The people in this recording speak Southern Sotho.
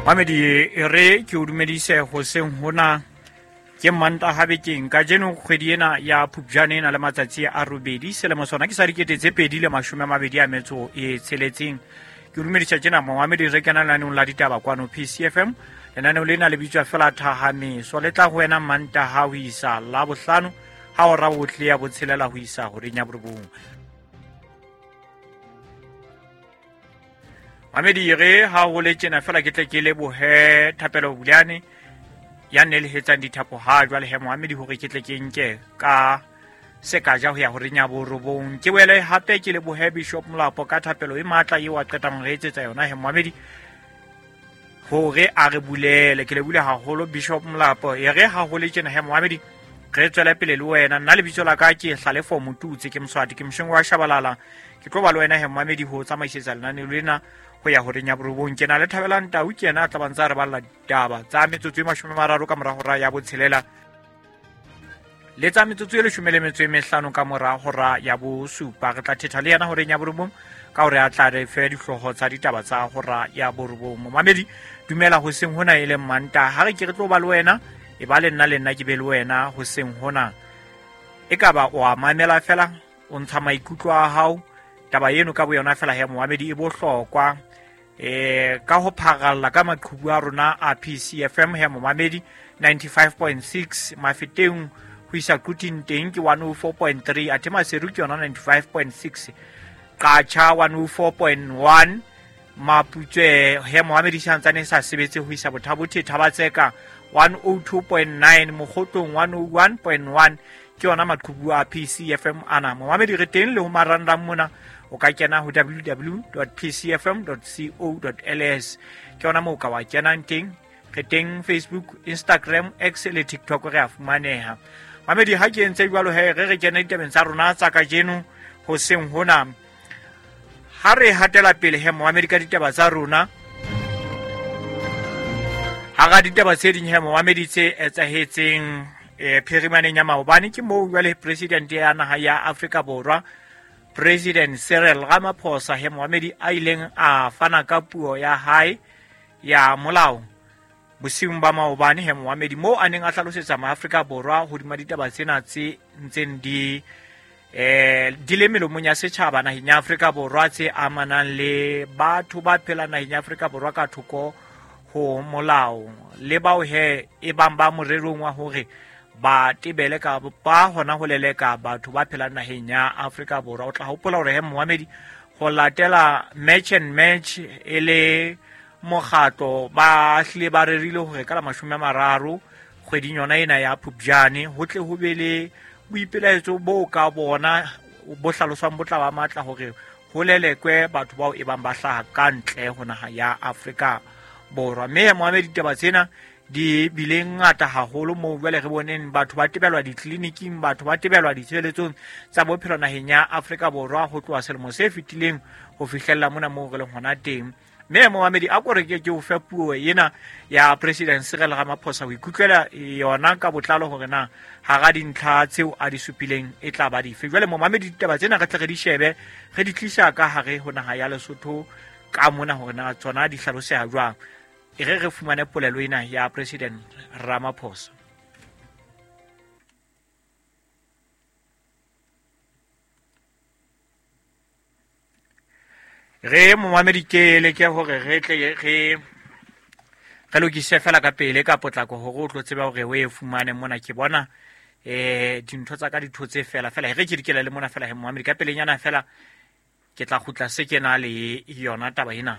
Mamedi, e re ke o dumedise hoseng hona ke Mantaha bekeng. Kajeno kgwedi ena ya Phupjane e na le matsatsi a robedi, selemo sona ke sa 2026. Ke o dumedisa tjena momamedi, re kena lenaneong la ditaba kwano PCFM. Lenaneo lena le bitswa fela Thahameso, le tla ho wena Mantaha ho isa Labohlano ha hora bohle ya botshelela ho isa horeng ya borobong. Mamedi, re ha ho le tjena fela ke tle ke lebohe Thapelo Buleane ya nelehetsang dithapo ha jwale he Mohamedi, hore ke tle ke nke ka sekaja ho ya horeng ya borobong. Ke boele hape ke lebohe Bishop Molapo ka thapelo e matla eo a qetang re etsetsa yona he Mohamedi, hore a re bulele. Ke lebule haholo Bishop Molapo. E re ha ho le tjena he Mohamedi, re tswele pele le wena. Nna lebitso la ka ke Hlalefo Motutse, ke Moswati, ke mosheng wa Shabalala. Ke tlo ba le wena he Mohamedi ho tsamaisetsa lenaneo lena ho ya horeng ya borobong. Ke na le Thabelang Tau, ke yena a tla bantsa re balla ditaba tsa metsotso e 30 ka mora hora ya botshelela, le tsa metsotso e 15 ka mora hora ya bosupa. Re tla thetha le yena horeng ya borobong ka hore a tla re fe dihlooho tsa ditaba tsa hora ya borobong. Momamedi, dumela hoseng hona e leng Mantaha. Ha re ke re tlo ba le wena, e ba le nna, le nna ke be le wena hoseng hona. E ka ba o a mamela fela, o ntsha maikutlo a hao. Taba eno ka boyona fela he momamedi e bohlokwa. Ka ho pharalla ka maqhubu a rona a PCFM he momamedi, 95.6 Mafeteng ho isa Quthing teng ke 104.3, athe Maseru ke yona 95.6, Qacha 104.1, Maputswe he momamedi santsane sa sebetse ho isa Bothabothe, Thabatseka 102.9, Mokgotlong 101.1. Ke yona maqhubu a PCFM ana momamedi. Re teng le ho marangrang mona, o ka kena ho www.pcfm.co.ls, ke yona moo ka wa kenang teng. Re teng Facebook, Instagram, X le TikTok, re a fumaneha mamedi. Ha ke entse jwalo he, re re kene ditabeng tsa rona tsa kajeno hoseng hona. Ha re hatela pele he momamedi ka ditaba tsa rona, hara ditaba tse ding he momamedi tse etsahetseng phirimaneng ya maobane, ke moo jwale president ya naha ya Afrika Borwa, President Cyril Ramaphosa he momamedi, a ileng a fana ka puo ya hae ya molao bosiung ba maobane he momamedi, moo a neng a hlalosetsa maAfrika Borwa hodima ditaba tsena tse ntseng di di le melomong ya setjhaba naheng ya Afrika Borwa, tse amanang le batho ba phelang naheng ya Afrika Borwa ka thoko ho molao, le bao he e bang ba morerong wa hore ba tebele ka ba hona ho leleka batho ba phelang naheng ya Afrika Borwa. O tla hopola hore he momamedi, ho latela Match and Match e le mokgatlo, ba hlile ba rerile hore ka la 30 kgweding yona ena ya Phupjane ho tle ho be le boipelaetso bo ka bona bo hlaloswang bo tla ba matla hore ho lelekwe batho bao e bang ba hlaha ka ntle ho naha ya Afrika Borwa. Mme moamedi, ditaba tsena di bile ngata haholo moo jwale re boneng batho ba tebelwa ditleliniking, batho ba tebelwa ditshebeletsong tsa bophelo naheng ya Afrika Borwa ho tloha selemo se fetileng ho fihlella mona moo re leng hona teng. Mme momamedi, a ko re ke o fe puo ena ya President Cyril Ramaphosa ho ikutlwela yona ka botlalo hore na hara dintlha tseo a di supileng e tla ba dife. Jwale momamedi, ditaba tsena re tle re di shebe, re di tlisa ka hare ho naha ya Lesotho ka mona hore na tsona di hlaloseha jwang. E re re fumane polelo ena ya President Ramaphosa. Re momamedi, ke leke hore re tle re lokise fela ka pele ka potlako hore o tlo tseba hore o e fumane mona. Ke bona dintho tsa ka ditho tse fela fela, re ke dikela le mona fela he momamedi, ka pelenyana fela ke tla kgutla se kena le yona taba ena.